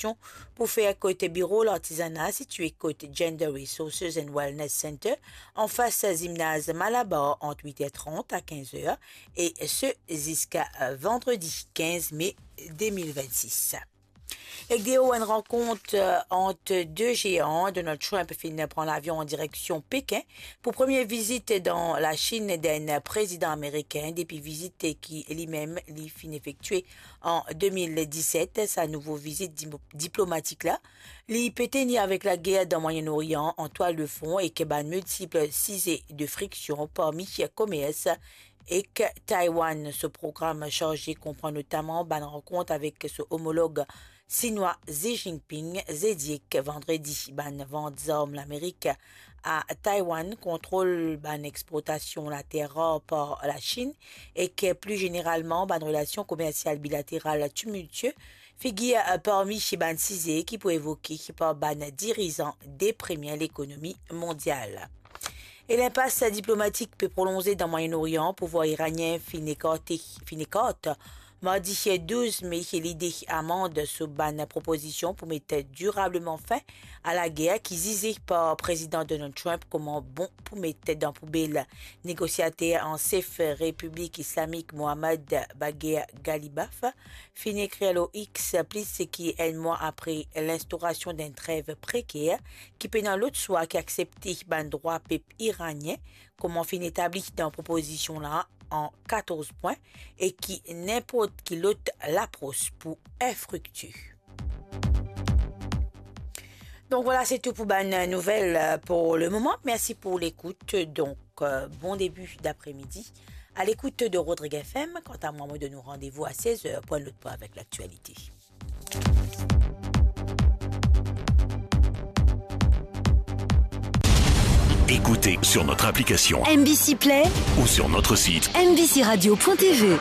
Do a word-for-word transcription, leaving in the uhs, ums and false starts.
konstriksyon pou fer kot biro lartizana sitwe kot Gender Resources and Wellness Center, anfas zimnaz Malabar, ant wit er trant a kinz er, e se ziska, eh, vandredi kinz me de mil vennsis. Ek deor enn rankont, eh, ant de zean, Donald Trump finn pran lavion an direksion Pekin pou premie vizit dan Lasinn d'enn prezidan amerikin depi vizit ki limem li finn efektue an de mil diset. Sa nouvo vizit di-, diplomatik la, li pe tenir avek lager dan Mwayen Orian an twal de fon ek bann miltip size de friksion, parmi komers ek Taiwan. So program sarze konpran notaman bann rankont avek so omolog sinwa Xi Jinping zedi ek vandredi, bann vant zarm Lamerik a Taiwan, kontrol bann exportasion later rar par Lasinn, ek pli zeneralman bann relasion komersial bilateral timiltie figir parmi bann size ki pou evoke par bann dirizan de premie lekonomi mondial. E linpas diplomatik pe prolonze dan Mwayen Orian, pouvwar iranien finn ekarte, finn ekart mardi douz me lide amand so bann propozision pou met dirableman fin a lager ki zize par Prezidan Donald Trump kouma bon pou met dan poubel. Negosiater an sef Repiblik Islamik Mohammad Bagher Ghalibaf finn ekrir lor X, plis ki enn mwa apre linstaurasion d'enn trev preker ki pena lot swa ki aksepte bann drwa pep iranien, kouma finn etabli dan propozision la an katorz pwin, e ki ninport ki lot lapros pou infriktie. Donk vwala, se tou pou bann nouvel, euh, pou le moman. Mersi pou lekout. Donk, euh, bon debi dapremidi a lekout de Rodrigue F M. Kanta mwa, mo donn ou randevou a sez er pou enn lot pwin avek laktialite. Écoutez sur notre application M B C Play ou sur notre site M B C radio point T V.